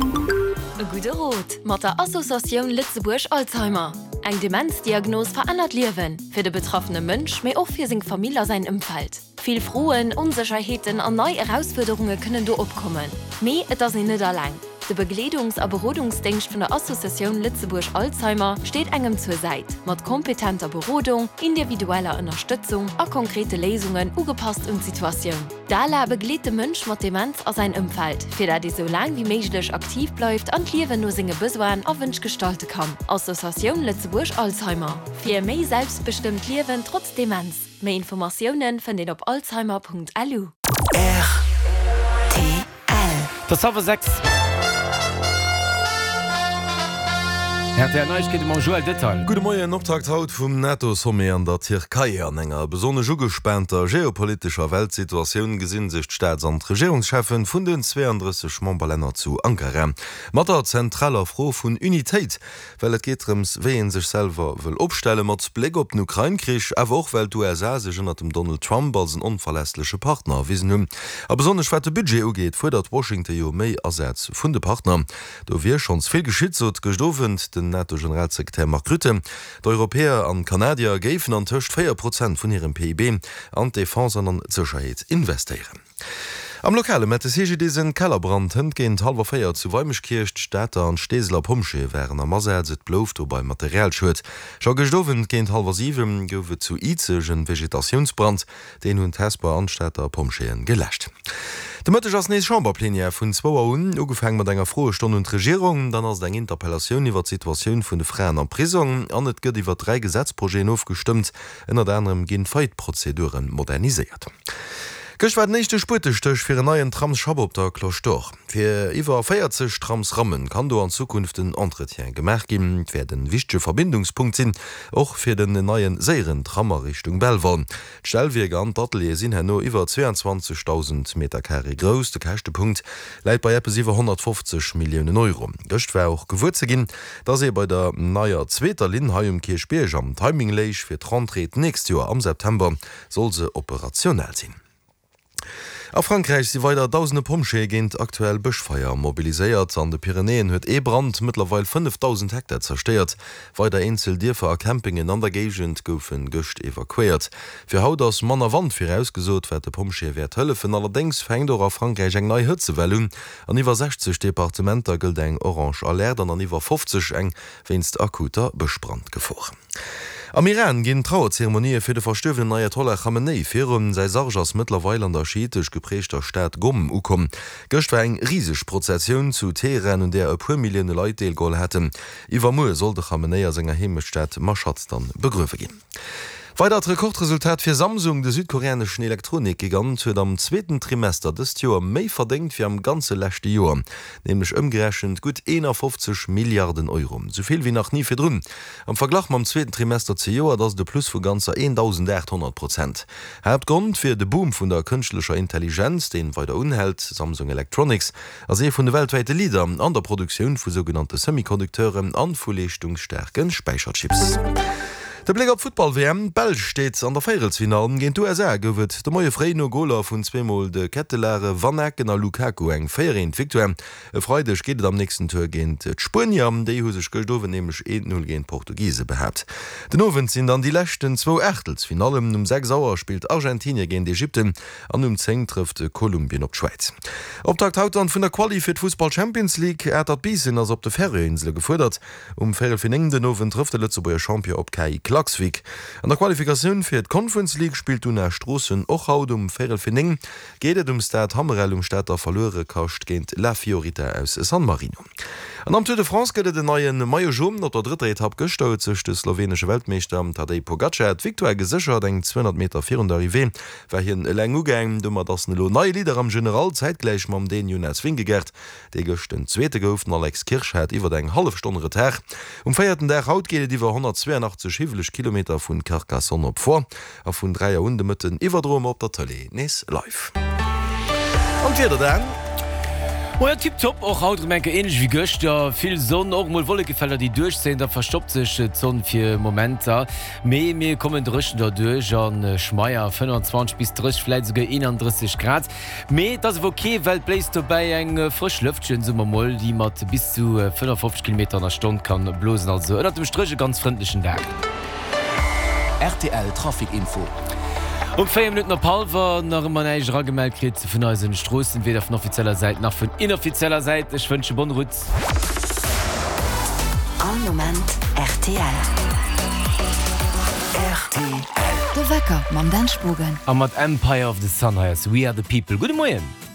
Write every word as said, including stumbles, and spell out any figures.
E gudde Rot mat der Associatioun Lëtzebuerg Alzheimer. Eng Demenzdiagnos verännert Liewen, fir de betraffene Mënsch, mee och fir seng Famill a säin Ëmfeld. Vill Froen, Onsécherheeten an nei Erausfuerderunge kënnen do opkommen. Mee et ass een net eleng. De Begleedungs a Berodungsdéngscht vun der Associatioun Lëtzebuerg Alzheimer steet engem zur Säit, mat kompetenter Berodung, individueller Ënnerstëtzung a konkrete Léisungen, ugepasst un d'Situatioun. D'ALA begleet de Mënsch mat Demenz a säin Ëmfeld, fir dat ee sou laang wéi méiglech aktiv bleift an d'Liewen no senge Besoinen a Wënsch gestalte kann. Associatioun Lëtzebuerg Alzheimer, fir e méi selbstbestëmmt Liewen trotz Demenz. Méi Informatioune fënnt een op alzheimer.lu. Rtl. Et ass hallwer sechs. Rtl Neiegkeete mam Joël Detail. Gudde Moien, Optakt haut vum NATO-Sommet an der Tierkei. An enger besonnesch ugespaanter geopolitescher Weltsituatioun gesinn sech d'Staats an d'Regierungscheffen vun den zweeëndrësseg Memberlänner zu Ankara mat der zentraler Fro vun Unitéit. Well et geet drëms, wéi ee sech selwer wëll opstelle mat Bléck op den Ukrain-Krich, awer och well d'USA sech ënnert dem Donald Trump als en onverlässleche Partner erwisen hunn. A besonnesch wat de Budget ugeet, fuerdert Washington jo méi Asaz vun de Partner. Do wier schonns vill geschitt, sot gëscht Owend den NATO-Generalsekretär Mark Rutte. D'Europäer an d'Kanadier géifen an tëscht véier Prozent vun hirem P I B an d'Defense an an d'Sécherheet investéieren. Am Lokale mellt de C G D I S en Kellerbrand hënt géint hallwer véier zu Weimeschkierch. D'Stater an d'Steeseler Pompjeeë waren am Asaz, et blouf dobei Materialschued. Scho gëscht Owend géint hallwer siwen gouf et zu Izeg en Vegetatiounsbrand, deen hunn d'Hesper an d'Stater Pompjeeën geläscht. De Mëtteg ass nees Chamberplenière vun zwou Auer un, ugefaang mat enger Froestonn un d'Regierung. Dann ass et eng Interpellatioun iwwer d'Situatioun vun de Fraen am Prisong an et gëtt iwwer dräi Gesetzprojeten ofgestëmmt. Ënnert anerem ginn d'Faillite-Prozedure moderniséiert. Gëscht war den éischte Spuetestéch fir en neien Tramsschapp op der Cloche d'Or. Fir iwwer véierzeg Tramsrammen kann do an Zukunft den Entretien gemaach ginn. Et wäert e wichtege Verbindungspunkt sinn, och fir den neien séieren Tram a Richtung Belval. D'Stellwierker an d'Ateliere sinn herno iwwer zweeanzwanzegdausend Meter Carré grouss. De Käschtepunkt läit bei eppes iwwer honnertfofzeg Milliounen Euro. Gëscht war och gewuer ze ginn, dass ee bei der neier zweeter Linn hei um Kierchbierg am Timing léich. Fir d'Rentrée d'nächst Joer am September soll se operationell sinn. A Frankräich si weider dausende Pompjeeë géint aktuell Bëschfeier mobiliséiert. An de Pyrenäen huet ee Brand mëttlerweil fënnefdausend Hektar zerstéiert. Weider eenzel Dierfer a Campingen an der Géigend goufe gëscht evakuéiert. Fir haut ass manner Wand virausgesot, wat de Pompjeeë wäert hëllefen. Allerdéngs fänkt och a Frankräich eng nei Hëtzewell un. An iwwer sechzeg Departementer gëllt eng orange Alerte an an iwwer fofzeg eng wéinst akuter Bëschbrandgefor. Am Iran ginn d'Trauerzeremonië fir de verstuerwenen Ayatollah Khamenei virun. Säi Sarg ass mëttlerweil an der schiitesch geprägter Stad Ghom ukomm. Gëscht war eng riseg Prozessioun zu Teheran, un där e puer Millioune Leit deelgeholl haten. Iwwermuer soll de Khamenei a senger Heemechtstad Mashhad dann begruewe ginn. Weidert Rekordresultat fir Samsung, De südkoreaneschen Elektronik-Gigant huet am zweeten Trimester dëst Joer méi verdéngt wéi am ganze leschte Joer, nämlech ëmgerechent gutt eenafofzeg Milliarden Euro, sou vill wéi nach ni virdrun. Am Verglach mam zweeten Trimester zejoert ass et e Plus vu ganzer eendausendaathonnert Prozent. Haaptgrond wier de Boom vun der kënschtlecher Intelligenz, deen weider unhält. Samsung Electronics ass ee vun de weltwäite Leader an der Produktioun vu sougenannte Semiconducteuren an vu leeschtungsstaarke Späicherchips. De Bléck op d'Futtball-W M, D'Belsch steet an der Véierelsfinall. Géint d'U S A gouf et de Moie fréi no Goler vun zweemol de Ketelaere, Vanaken a Lukaku eng véier-eent Victoire. E Freideg geet et am nächsten Tour géint d'Spuenier. Déi hu sech gëscht Owend nämlech eent-null géint d'Portugise behaapt. Den Owend sinn dann déi leschten zwou Aachtelsfinallen. Um sechs Auer spillt Argentinie géint Ägypten an um zéng trëfft Kolumbien op d'Schwäiz. Optakt haut dann vun der Quali fir d'Fussball-Champions League. Atert Biissen ass op de Färöerinsele gefuerdert. Um véierel fir néng den Owend trëfft de Lëtzebuerger Champion op K I Klaksvík. An der Qualifikatioun fir d'Conference League spillt d'Una Stroossen och haut. Um véierel fir néng geet et um Stade Hammerel um Stater Verluerekascht géint La Fiorita aus San Marino. An am Tour de France gëtt et en neie Maillot Jaune. Op der drëtter Etapp gëschter huet sech de sloweenesche Weltmeeschter Tadej Pogacar d'Victoire geséchert. Eng zweehonnert Meter virun der Arrivée war hien eleng ugaang. Domat ass en elo neie Leader am General, zäitgläich mam Dän Jonas Vingegaard, dee gëscht den Zweete gouf. Den Alex Kirsch hat iwwer eng hallef Stonn Retard. Um véierten Dag haut geet et iwwer honnertzwéianachtzeg hiwweleg Kilometer vun Carcassonne op Foix a vun dräi Auer un de Mëtten iwwerdroe mer op der Tëlee nees live. An d'Wieder dann? Moien, tiptop, och haut erëm eng Kéier ähnlech wéi gëschter, vill Sonn, och mol Wollekefelder déi duerchzéien, da verstoppt sech d'Sonn fir Momenter, mee mir kommen dréchen derduerch an schmeier fënnwanzwanzeg bis drësseg, vläit esouguer eenandrësseg Grad. Mee et ass awer ok, well et bléist dobäi eng frësch Lëftchen, soe mer mol, déi mat bis zu fënnefofzeg Kilometer an der Stonn kann blosen, also ënnert dem Stréch e ganz frëndlechen Dag. Rtl Trafic Info. Um véier Minutten op hallwer nach ëmmer näischt eragemellt kritt vun eisen Stroossen, weder vun offizieller Säit nach vun inoffizieller Säit. Ech wënsche bonne route. All Moment rtl. Rtl. De Wecker mam Dan Spogen. A mat Empire of the Sun hei ass We Are The People. Gudde Moien.